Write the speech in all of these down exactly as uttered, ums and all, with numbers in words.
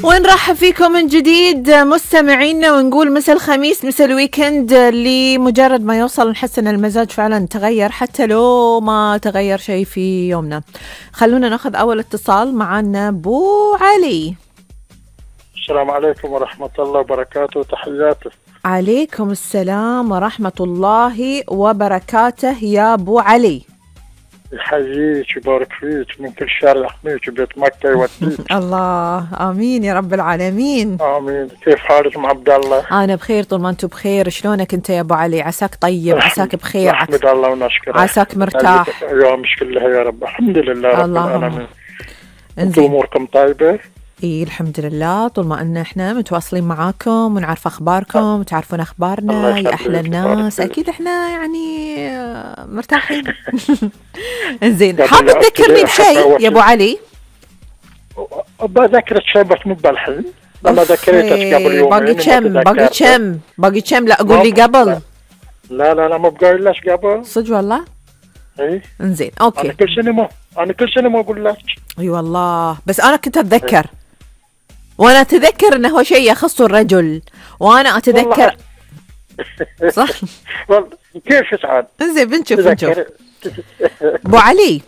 ونرحب فيكم من جديد مستمعينا، ونقول مسا الخميس مسا الويكند. لمجرد ما يوصل نحس ان المزاج فعلا تغير حتى لو ما تغير شيء في يومنا. خلونا ناخذ اول اتصال معنا. ابو علي، السلام عليكم ورحمة الله وبركاته، تحياتي. عليكم السلام ورحمة الله وبركاته يا ابو علي. يحييك ويبارك فيك من كل شر، يحميك وبيت مكة يوديك. الله امين يا رب العالمين. امين. كيف حالك ام عبد الله؟ انا بخير طول ما انتم بخير. شلونك انت يا ابو علي؟ عساك طيب، عساك بخير، نحمد الله ونشكره، عساك مرتاح ايامك كلها يا رب. الحمد لله رب العالمين. انتم اموركم طيبة؟ اي الحمد لله، طول ما ان احنا متواصلين معاكم ونعرف اخباركم وتعرفون اخبارنا يا احلى الناس، اكيد احنا يعني مرتاحين. انزين، حاب تذكرني بشيء يا ابو علي؟ بذكرك شيء بس مو بالحين، والله ذكرتك قبل يومين. باقي كم باقي كم باقي كم لا اقول لي قبل. لا لا لا مو بقايل لك قبل. صدق والله؟ اي انزين اوكي. انا كل سنه ما انا كل سنه ما اقول لك. اي والله، بس انا كنت اتذكر، وانا اتذكر انه هو شيء يخص الرجل، وانا اتذكر. صح والله كيف سعاد. انزين بنشوف بنشوف. ابو علي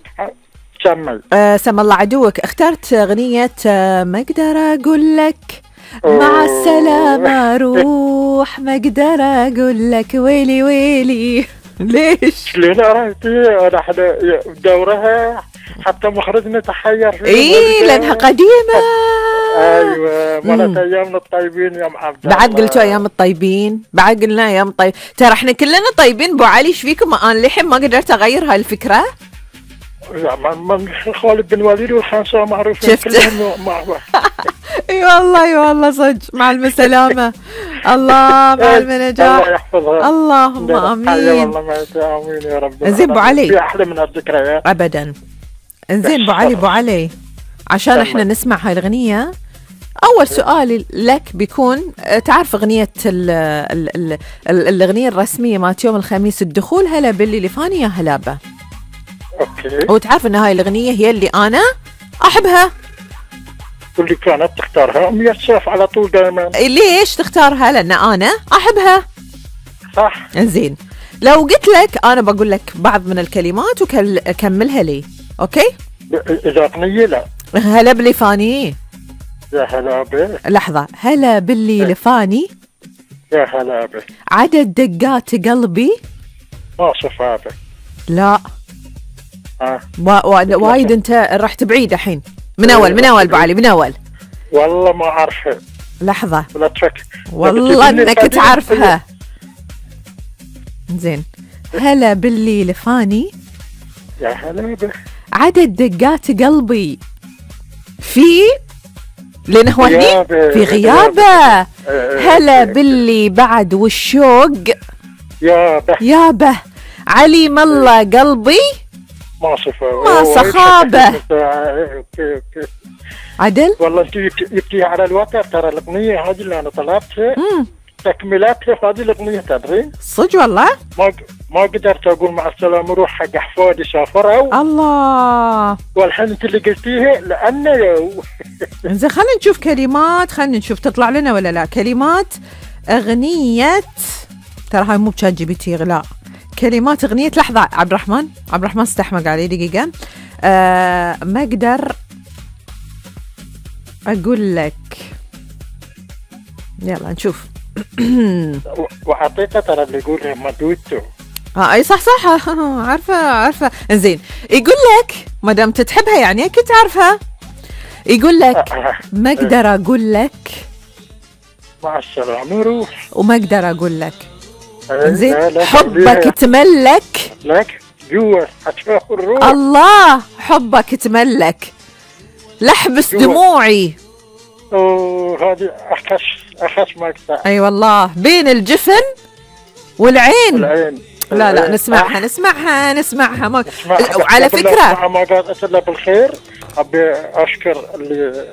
سمي. آه سم الله عدوك، اخترت اغنية آه ما اقدر اقول لك مع السلامة روح، ما اقدر اقول لك ويلي ويلي. ليش؟ لين عرفتي انا احنا دورها حتى مخرجنا تحير فيها. اي لانها قديمة. ايوه مالت ايامنا الطيبين يا ام عبد الله. بعد قلتوا ايام الطيبين، بعد قلنا ايام الطيب. ترى احنا كلنا طيبين ابو علي، ايش فيكم؟ انا للحين ما قدرت اغير هاي الفكرة. لا من خالد بن وليد والخمسة معروفين كلهم مع بعض. اي والله اي والله صدق. مع السلامة. الله مع النجاح. الله يحفظها. اللهم امين. والله ما امين يا رب. زين ابو علي، في احلى من الذكريات ابدا. انزين ابو علي ابو علي عشان تمام. احنا نسمع هاي الاغنية، اول سؤال لك بيكون تعرف اغنية ال ال ال ال الاغنية الرسمية مالت يوم الخميس الدخول، هلا باللي لفاني يا هلابة. اوكي. وتعرف ان هاي الاغنية هي اللي انا احبها، واللي كانت تختارها ام يوسف على طول دائما. ليش تختارها؟ لان انا احبها. صح. انزين لو قلت لك انا بقول لك بعض من الكلمات وكملها لي، اوكي؟ اذا اغنية لا. هلا باللي فاني. يا هلا به. لحظة، هلا باللي لفاني. يا هلا به. عدد دقات قلبي. ما صفابه. لا ها وا... وا... وايد انت رحت بعيد الحين. من اول من اول ابو علي من اول. والله ما اعرفها. لحظة ولا تفكر والله انك تعرفها. زين، هلا باللي لفاني. يا هلا به. عدد دقات قلبي في لانه هو هني في غيابه. هلا باللي بعد والشوق يابه يابه. عليم الله قلبي ما صفه ما صخابه. اوكي اوكي عدل. والله انت جبتيها على الوتر. ترى الاغنيه هذه اللي انا طلبتها تكملاتها هذه الاغنيه تدري. صدق والله ما ما قدرت اقول مع السلامه روح حق احفادي سافروا. الله. والحين انت اللي قلتيها لانه زين خلينا نشوف كلمات، خلينا نشوف تطلع لنا ولا لا. كلمات اغنيه، ترى هاي مو بشات جي بي تي، لا كلمات اغنيه. لحظه عبد الرحمن، عبد الرحمن استحمق علي دقيقه. آه ما اقدر اقول لك. يلا نشوف. وحقيقه ترى اللي يقولها ما دويتو. اه اي صح صح. عارفه عارفه. زين يقول لك ما دام تتحبها يعني اكيد تعرفها. يقول لك ما اقدر اقول لك مع السلامه روح، وما اقدر اقول لك. لا زين لا حبك تملك لك جوا حتشوف الروح. الله حبك تملك لحبس جوا. دموعي. اوه هذه اخش اخش مقطع. اي أيوة والله بين الجفن والعين. والعين. لا لا نسمعها نسمعها نسمعها ما... وعلى وعلى فكرة ما قالت الا بالخير. ابي اشكر اللي